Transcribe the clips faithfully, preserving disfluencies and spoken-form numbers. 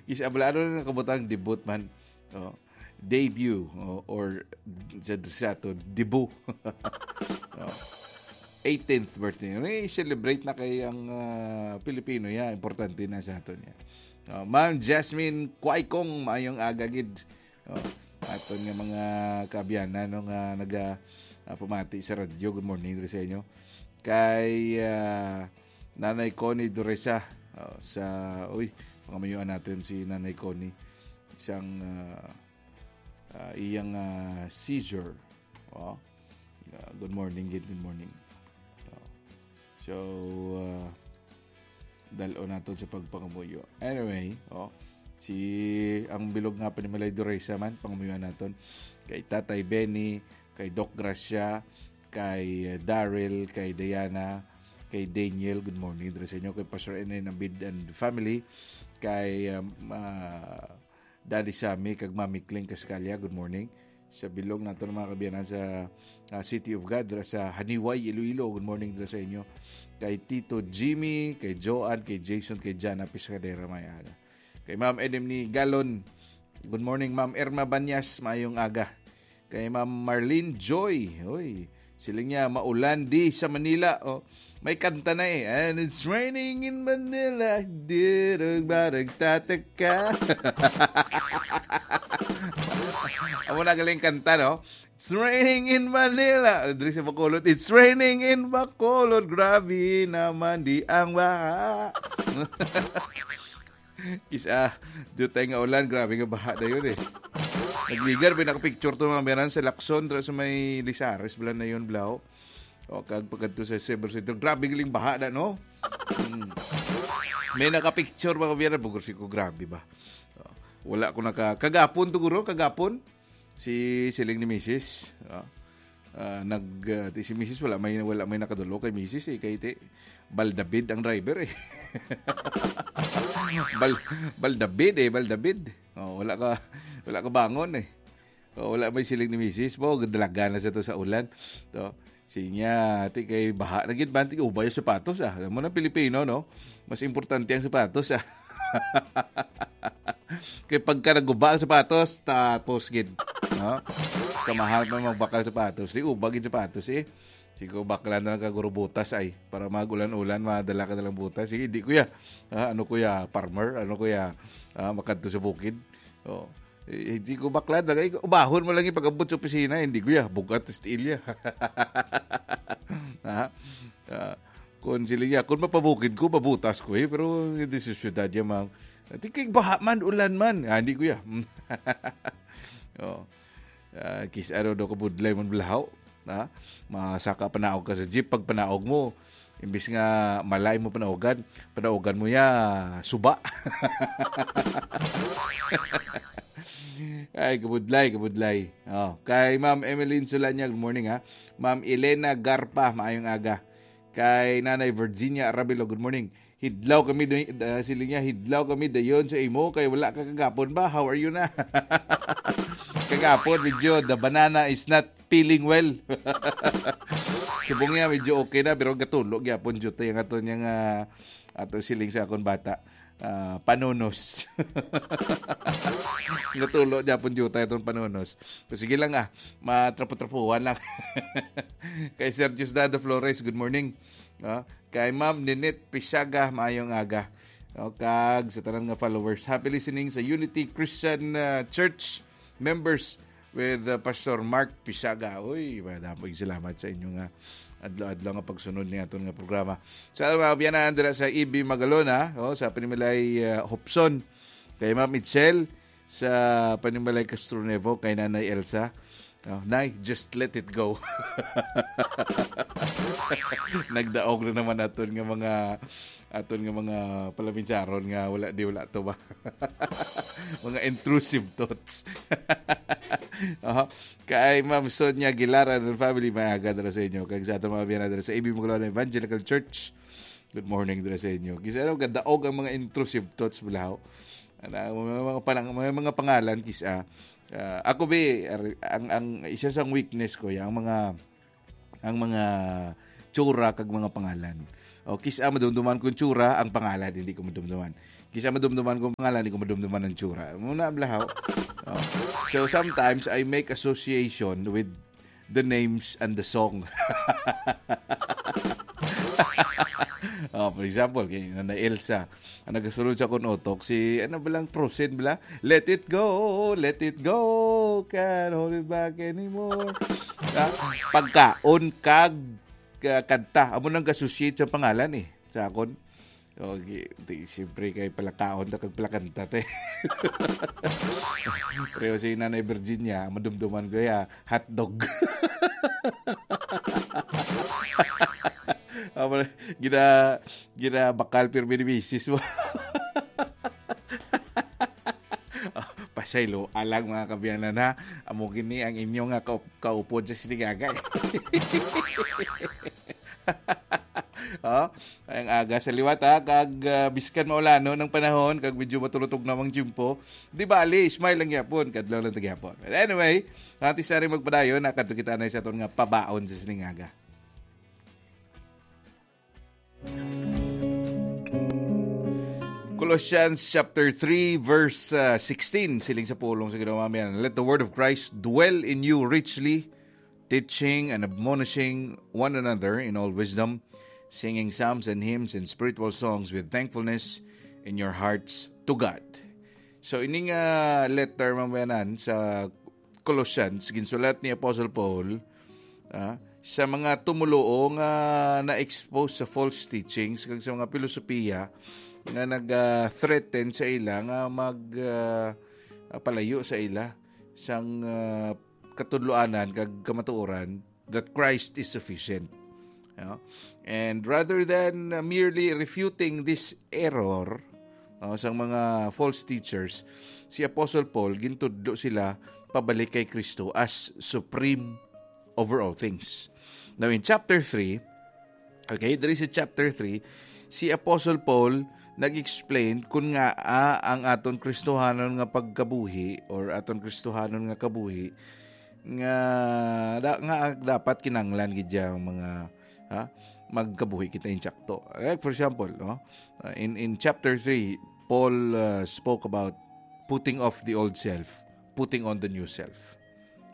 Kis-a bala, ano na nakabutang debut man? Oh, debut, oh, or sa, sa aton, debut. Oh. eighteenth birthday. Ano, i-celebrate na kay ang, ah, Pilipino, ya, importante na sa aton, ya. Oh, Ma'am Jasmine Kuaykong, maayong aga gid. Oh, aton nga mga kaabyanan, no, nga naga, ah, pamati sa radyo. Good morning diri sa inyo. Kay, ah, Nanay Connie Duresa, oh, sa, uy, pangamayuan natin si Nanay Connie. Isang, ah, ah, iyang, ah, seizure. Oh. Ah, good morning, gid. Good morning. Oh. So, ah, dal-o naton sa pagpangamuyo. Anyway, oh, si ang bilog nga pa ni Malay Duresa man, pangamuyo naton. Kay Tatay Benny, kay Doc Gracia, kay, uh, Daryl, kay Diana, kay Daniel, good morning diri sa inyo, kay Pastor N N Abid and family, kay, um, uh, Daddy Sammy, kag Mami Kling Cascalia, good morning. Sa bilog nato ng mga kabiyanan sa, uh, City of God, dira sa Haniway, Iloilo, good morning dira sa inyo. Kay Tito Jimmy, kay Joan, kay Jason, kay Jana Piscadera, may aga. Kay Ma'am Edem ni Galon, good morning, Ma'am Irma Banyas, maayong aga. Kay Ma'am Marlene Joy, oy, siling niya, maulan di sa Manila. Oh, may kanta na eh. And it's raining in Manila. Dirog barag tataka. Amo na galing kanta, no? It's raining in Manila. Diri sa Bacolod, it's raining in Bacolod. Grabe naman di ang baha. Kis-a, dutay nga ulan, grabe nga baha na yun eh. Nagligar, may nakapicture to mga meran sa Lacson, dira sa may Lizares, bala na yun, Blau. O, kag pagkadto sa Silver Center, grabe galing baha na, no? Hmm. May nakapicture, mga meran, bugor si ko, grabe ba? O, wala ko naka, kagapon to, guro, kagapon. Si siling ni misis, ah, ah, nag, ah, ti si misis wala may, wala may nakadalo kay misis eh, kay ti Baldabid ang driver eh. Bal-, Baldabid eh, Baldabid. Oh, wala ka, wala ka bangon eh. Oh, wala may siling ni misis po, dalaga na sa to sa ulan. To, sinya, ti kay baha na gid man, ti ubay ang sapatos ah. Alam mo na Pilipino, no? Mas importante ang sapatos ah. Kay pagka naguba ang sapatos, tapos gid. No? Kamahal pa magbakal sapatos. Di ubag gid sapatos eh. Sigo bakla na lang kaguro butas ay. Para mag-ulan-ulan, madala ka na lang butas. Sige, di kuya. Ah, ano kuya, farmer? Ano kuya, ah, makadto sa bukid? Oh. Eh, di ko bakla na. Eh, ubahon mo lang yung pag-abot sa opisina. Hindi kuya, bugat, still ya. Ha? Ah, kung sila ya, kung mapabukid ko, mabutas ko eh. Pero hindi sa syudad ya, mang. Di kay baha man, ulan man. Ah, hindi kuya. Oh. Ah, kis-, ano daw kabudlay man balahaw. Ha? Masaka panaog ka sa jeep. Pag panaog mo, imbis nga malay mo panaogan, panaogan mo ya suba. Ay, kabudlay, kabudlay. Oh, kay Ma'am Emeline Sulanya, good morning ha. Ma'am Elena Garpa, maayong aga. Kay Nanay Virginia Arabilo, good morning. Hidlaw kami, day-, ah, siling niya, "Hidlaw kami dayon sa imo kay wala ka kagapon ba? How are you na?" Kagapon, medyo the banana is not feeling well. Subong niya, medyo okay na, pero gatulo gyapon jutay ang ato niyang, ah, ato siling sa akon bata. Ah, panunos. Gatulo gyapon jutay atong panunos. Pero sige lang ah, matrapo-trapuhan lang. Kay Sir Diosdado Flores, good morning. Ah, kay Ma'am Ninette Pisaga, maayong aga. O, kag sa tanan nga followers, happy listening sa Unity Christian, uh, Church members with, uh, Pastor Mark Pisaga. Uy, madamog salamat sa inyo nga adlaw-adlaw nga pagsunod ni aton nga programa. Sa mga biyanan dira sa E B Magalona, oh, sa Panimalay, uh, Hopson, kay Ma'am Itzel, sa Panimalay Castronevo, kay Nanay Elsa. Oh, Nay, just let it go. Nagdaog na naman aton nga mga, aton nga mga palaminsaron nga wala di wala to ba? Mga intrusive thoughts. Aha. Kay Ma'am Sonia Aguilar and family, may aga dira sa inyo. Kag sa aton mga biyanan dira sa A B Maglona Evangelical Church. Good morning dira sa inyo. Kisa ano, gadaog ang mga intrusive thoughts balahaw. Ana, may mga panang-, may mga pangalan kisa. Ah, ako bi, ar-, ang, ang isa sang weakness ko, ya, ang mga, ang mga tsura kag mga pangalan. O, kisa madumduman kong tsura, ang pangalan hindi ko madumduman. Kisa madumduman ko ang pangalan, di ko madumduman ang tsura. Muna ang blahaw. Oh. So sometimes I make association with the names and the song. Oh, for example, kay Nanay Elsa, ang nagasulod sa akon utok, si, ano ba lang, Prosen bala? "Let it go, let it go, can't hold it back anymore." Ah, pagkaon kag, ka-, kanta, amo nang associate sa pangalan eh, sa akon. Okay, di, siyempre kay palakaon ta kag palakanta te. Pero si Nanay Virginia, madumduman ko ya, hotdog. Amo na, gina, ginabakal pirmi ni misis mo. Pasaylo, alang mga kabiyanan ha. Amo gini ang inyo nga kaup-, kaupod sa Silingaga. Oh, ang aga sa liwat ha, kag ah, biskan maulanon ang panahon, kag medyo matulutog na ang tiyempo. Di bali, smile lang gyapon, kadlaw lang ta gyapon. But anyway, antes na rin magpadayon, nakadto kita na sa aton nga pabaon sa Silingaga. Colossians chapter three, verse uh, sixteen, siling sa pulong sa Ginoo, amen. "Let the word of Christ dwell in you richly, teaching and admonishing one another in all wisdom, singing psalms and hymns and spiritual songs with thankfulness in your hearts to God." So, ini nga letter, mga kabiyanan, sa Colossians, ginsulat ni Apostle Paul ah, sa mga tumuluo nga na-expose sa false teachings kag sa mga pilosopiya nga nag-threaten sa ila nga mag ah, ah, palayo sa ila sang ah, katudloanan kag kamatuoran that Christ is sufficient. No? And rather than uh, merely refuting this error no, sang mga false teachers, si Apostle Paul gintudlo sila pabalik kay Kristo as supreme over all things. Now in chapter three, okay, there is a chapter three, si Apostle Paul nag-explain kun nga ah, ang aton Kristohanon nga pagkabuhi or aton Kristohanon nga kabuhi nga da, nga dapat kinanglan gid ang mga ha, magkabuhi kita insakto. Like for example, no? Uh, in in chapter three, Paul uh, spoke about putting off the old self, putting on the new self.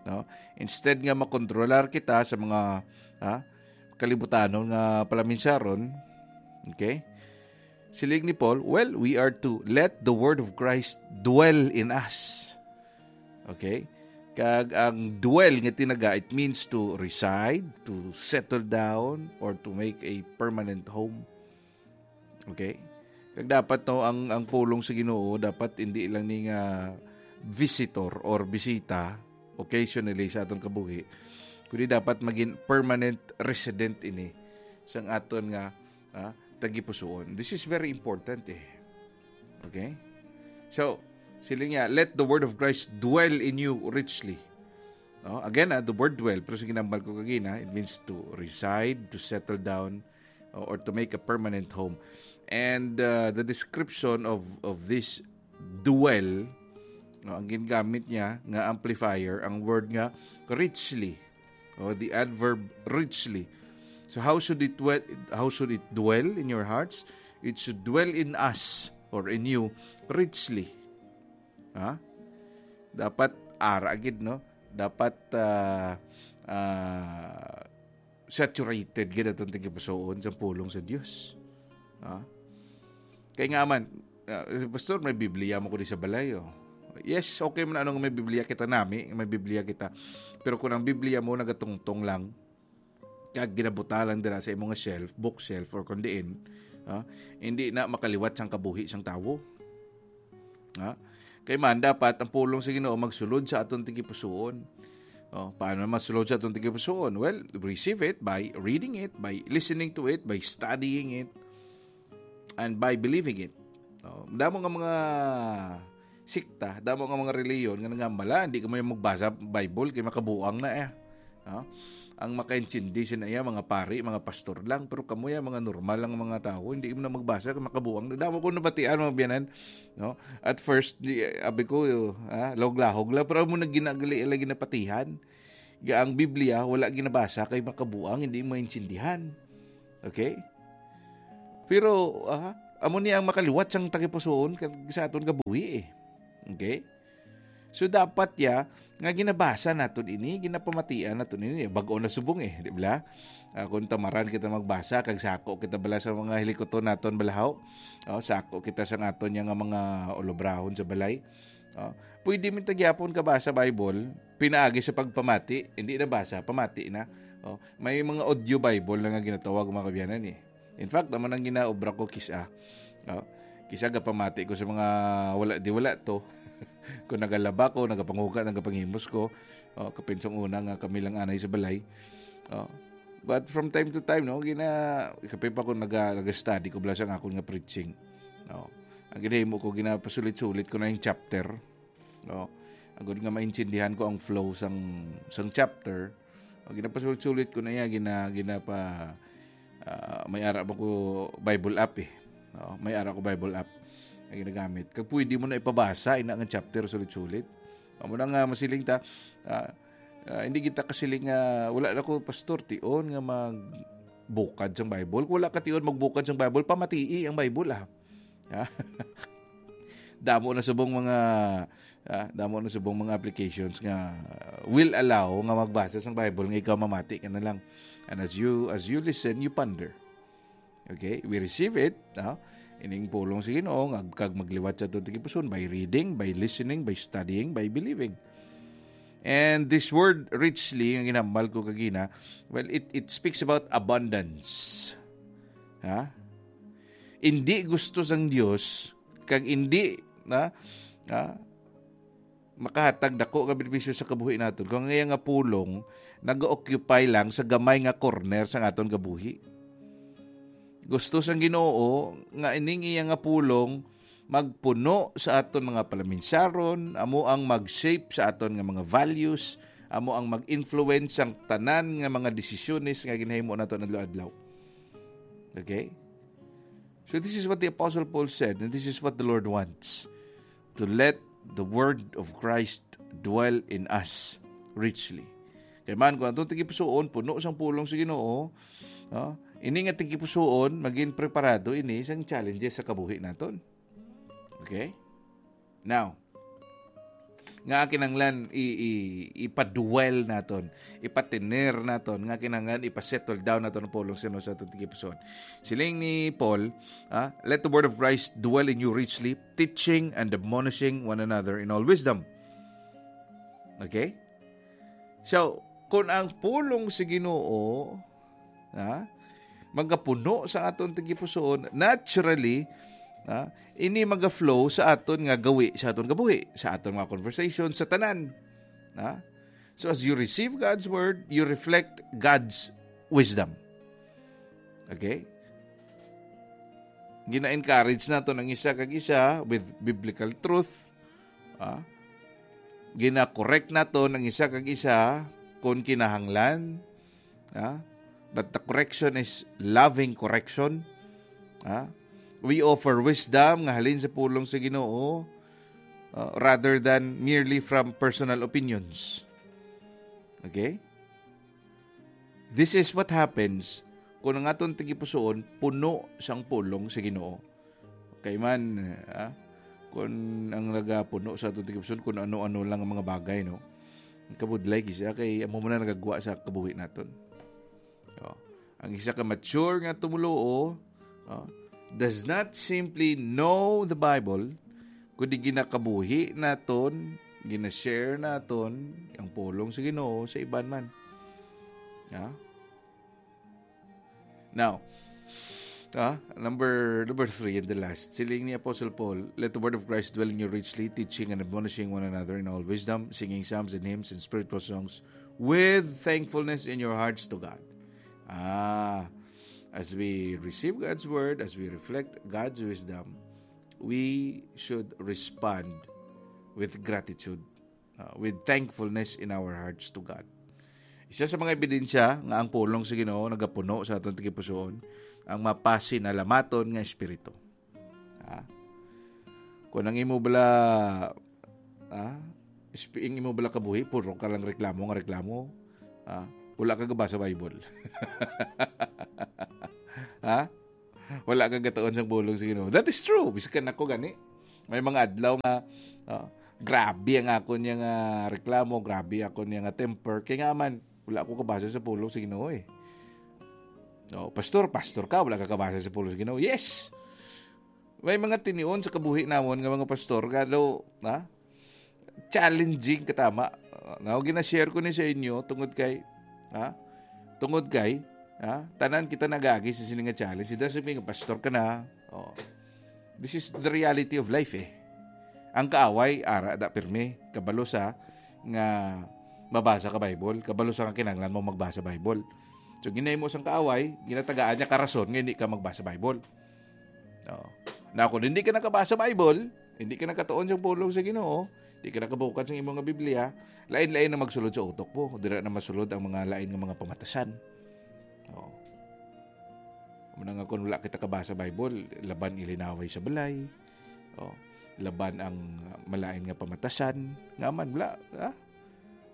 No? Instead nga makontrolar kita sa mga ha, kalibutanon nga palaminsaron, okay? Siling ni Paul, well, we are to let the word of Christ dwell in us. Okay? Kag ang dwell nga tinaga, it means to reside, to settle down, or to make a permanent home. Okay? Kag dapat no ang ang pulong sa Ginoo dapat hindi lang ni nga visitor or bisita occasionally sa atong kabuhi, kundi dapat maging permanent resident ini sang aton nga ah, tagipusoon. This is very important eh. Okay? So, sila niya, let the word of Christ dwell in you richly. No? Again, ah, the word dwell, pero sa ginambal ko kagina, it means to reside, to settle down, o- or to make a permanent home. And uh, the description of of this dwell, no, ang ginagamit niya nga amplifier, ang word nga richly, o the adverb richly. So how should it dwell, how should it dwell in your hearts? It should dwell in us or in you richly. Ha? Dapat ara gid, no? Dapat ah, ah, saturated gid atong tagipusoon sa pulong sa Dios. Ha? Kay nga man, ah, "Pastor, may Biblia mo ko di sa balay, oh." Yes, okay man ano nga may Biblia kita nami, may Biblia kita. Pero kung ang Biblia mo nagatungtong lang, kag ginabuta lang dira sa imong shelf, bookshelf, or kung diin, ah, hindi na makaliwat sang kabuhi sang tawo. Ha? Kay man, dapat ang pulong sa Ginoo magsulod sa aton tagipusoon. Oh, paano man masulod sa aton tagipusoon? Well, receive it by reading it, by listening to it, by studying it, and by believing it. Oh, damo nga mga sikta, damo nga mga reliyon nga nangambala, hindi ka may magbasa Bible kay makabuang na eh. No? Ang makaintindi sina iya, mga pari, mga pastor lang, pero kamo ya, mga normal lang mga tawo, hindi mo na magbasa kay makabuang na. Damo ko nabatian, mga biyanan, no? At first, di, abi ko, ah, lahog-lahog lang, pero mo na ginagali, ila ginapatihan. Ga ang Biblia, wala ginabasa kay makabuang, hindi maintindihan. Okay? Pero, ah, amo ni ang makaliwat sang tagipusoon kag sa aton kabuhi, eh. Okay? So, dapat ya nga ginabasa naton ini, ginapamatian naton ini, bag-o na subong, eh, di ba? Ah, kung tamaran kita magbasa, kag sako kita bala sa mga hilikuton naton balahaw, oh, sako kita sa aton ya nga mga ulobrahon sa balay. Oh, pwede man ta gyapon kabasa Bible, pinaagi sa pagpamati, hindi na basa, pamati na. Oh, may mga audio Bible na nga ginatawag, mga kaabyanan, eh. In fact, naman ang ginaobra ko kisa. Oh, kisa gapamati ko sa mga wala di wala to. Kung nagalaba ko, nagapanguga, nagapangimos ko. Oh, kapinsang una nga kami lang anay sa balay. Oh, but from time to time, no, gina, kape pa ko naga, naga-study ko bala sa akon nga preaching. Oh, ang ginahimo ko, ginapasulit-sulit ko na yung chapter. Oh, agud nga maintindihan ko ang flow sang, sang chapter. Oh, ginapasulit-sulit ko na iya, gina, ginapa, ah, may ara ba ko Bible app, eh. Oh, may ara ko Bible app ang ginagamit. Kag pwede mo na ipabasa ina nga chapter sulit-sulit. Amo na nga masiling ta, ah, ah, hindi kita kasiling nga, "Wala na ko, pastor, tion nga magbukad sang Bible." Kung wala ka tion magbukad sang Bible, pamatii ang Bible, ah. Ha? Damo na subong mga, ah, damo na subong mga applications nga will allow nga magbasa sang Bible nga ikaw mamati ka na lang. And as you, as you listen, you ponder. Okay? We receive it, no? Ining pulong sa Ginoo nga kag magliwat sa aton tagipusoon by reading, by listening, by studying, by believing. And this word richly, ang ginhambal ko kagina, well, it, it speaks about abundance. Ha? Hindi gusto sang Dios, kag hindi, ha? Ha? Makahatag dako nga benepisyo sa kabuhi naton kung ang iya nga pulong nag-occupy lang sa gamay nga corner sa aton kabuhi. Gusto sang Ginoo nga ining iya nga pulong magpuno sa aton mga palaminsaron, amo ang mag-shape sa aton nga mga values, amo ang mag-influence sang tanan nga mga desisyones nga ginahimo naton adlaw-adlaw. Okay? So this is what the Apostle Paul said, and this is what the Lord wants, to let the word of Christ dwell in us richly. Kay man, kung atong tagipusoon puno sang pulong sa Ginoo, no? Ini nga tagipusoon, maging preparado ini sang challenges sa kabuhi naton. Okay? Now, nga kinahanglan i, i, ipadwell naton, ipatener naton, nga kinahanglan ipasettle down naton ang pulong sa Ginoo sa aton tagipusoon. Siling ni Paul, ah, "Let the word of Christ dwell in you richly, teaching and admonishing one another in all wisdom." Okay? So, kung ang pulong sa Ginoo, ha, magapuno sa aton tagipusoon, naturally, ha, ini maga-flow sa aton nga gawi, sa aton kabuhi, sa aton mga conversation, sa tanan. Ha? So, as you receive God's word, you reflect God's wisdom. Okay? Gina-encourage naton ang isa kag isa with biblical truth. Ah? Gina-correct naton ang isa kag isa kung kinahanglan. Ah? But the correction is loving correction. Ah? We offer wisdom nga halin sa pulong sa Ginoo, ah, rather than merely from personal opinions. Okay? This is what happens kung ang aton tagipusoon puno sang pulong sa Ginoo. Kay man, ah, kung ang nagapuno sa aton tagipusoon kung ano-ano lang ang mga bagay, no? Kabudlay kisa kay amo man ang nagagwa sa kabuhi naton. Oh. Ang isa ka mature nga tumuluo, oh, does not simply know the Bible, kundi ginakabuhi naton, ginashare naton ang pulong sa Ginoo sa iban man. Ah? Now, ah, number, number three and the last. Siling ni Apostle Paul, "Let the word of Christ dwell in you richly, teaching and admonishing one another in all wisdom, singing psalms and hymns and spiritual songs with thankfulness in your hearts to God." Ah, as we receive God's word, as we reflect God's wisdom, we should respond with gratitude, uh, with thankfulness in our hearts to God. Isa sa mga ebidensya nga ang pulong sa Ginoo nagapuno sa aton tagipusoon, ang mapasinalamaton nga espiritu. Ah, kung ang imo bala, ah, isp-, ang imo bala kabuhi, puro ka lang reklamo nga reklamo, ah, wala ka gabasa Bible. Ha? Wala ka gatuon sang pulong sa Ginoo. That is true. Biskan ako gani. May mga adlaw nga, ah, grabe ang ako niya nga reklamo, grabe ako niya nga temper. Kaya nga man, wala ako kabasa sa pulong sa Ginoo eh. No, pastor, pastor ka, wala ka kabasa sa pulong sa Ginoo. Yes! May mga tinion sa kabuhi namon nga mga pastor, galo, ha? Challenging katama. Uh, now, gina-share ko ni sa inyo tungod kay, ha? Tungod kay, ha? Tanan kita nagagi sa sini nga challenge. Sida sa mga pastor ka na. Oh. This is the reality of life eh. Ang kaaway, ara da pirmi, kabalo sa nga mabasa ka Bible, kabalo sa nga kinahanglan mo magbasa Bible. So, ginahimo sang kaaway, ginatagaan niya ka rason nga hindi ka magbasa Bible. Oh. Na kung hindi ka nakabasa Bible, hindi ka nakatuon sa pulong sa Ginoo, hindi ka nakabukad sa imong nga Biblia, lain-lain na magsulod sa utok mo. Dira na masulod ang mga lain nga mga pamatasan. Oh. Muna nga kung wala kita kabasa Bible, laban ilinaway sa balay. Oh. Laban ang malain nga pamatasan. Nga man, wala, ah?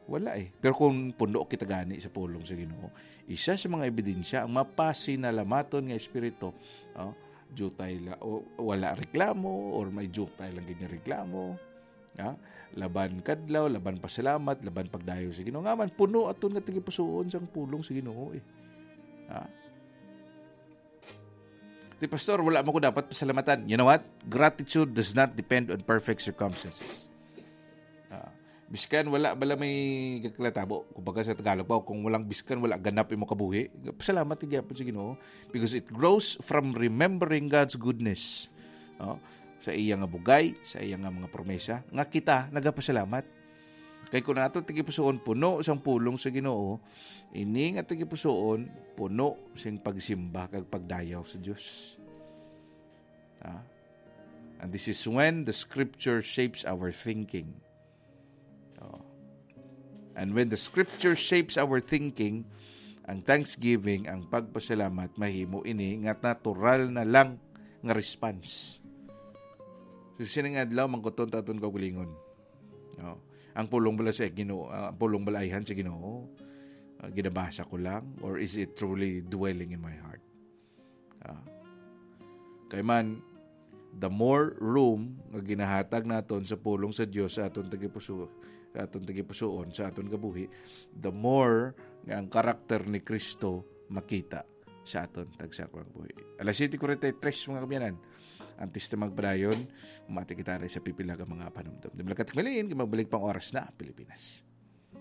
Wala eh. Pero kung puno kita gani sa pulong sa Ginoo, isa sa mga ebidensya ang mapasinalamaton nga espiritu, oh, jutay la, o, wala reklamo or may jutay lang gid nga reklamo. Ha? Laban kadlaw, laban pasalamat, laban pagdayo sa Ginoo. Nga man, puno aton nga tagipusoon sang pulong sa Ginoo eh. Ha? Ti, "Pastor, wala mo ko dapat pasalamatan." You know what? Gratitude does not depend on perfect circumstances. Ah, biskan wala bala may gaklatabo. Kumbaga sa Tagalog pa, kung walang biskan, wala ganap imo kabuhi. Pasalamat gyapon sa Ginoo because it grows from remembering God's goodness. Oh, sa iya nga bugay, sa iya nga mga promesa, nga kita nagapasalamat. Kay kung ato tagipusoon puno sang pulong sa Ginoo, ini nga tagipusoon puno sing pagsimba kag pagdayaw sa Dios. Ah? And this is when the scripture shapes our thinking. Oh. And when the scripture shapes our thinking, ang thanksgiving, ang pagpasalamat, mahimo ini nga natural na lang nga response. So, sining adlaw, mangkuton ta aton kaugalingon. Oh. Ang pulong bala sa Ginoo, ah, ang pulong bala ayhan sa Ginoo, ah, ginabasa ko lang, or is it truly dwelling in my heart? Ah. Kay man, the more room nga ginahatag naton sa pulong sa Dios sa aton tagipuso, sa aton tagipusoon, sa aton kabuhi, the more nga ang karakter ni Kristo makita sa aton tagsa ka mga kabuhi. Alas siyete kuwarenta y tres, mga kaabyanan. Antes ta magpadayon, mati kita sa pipila ka mga panumdom. Di malakatak malin, kay magbalik pang oras na, Pilipinas.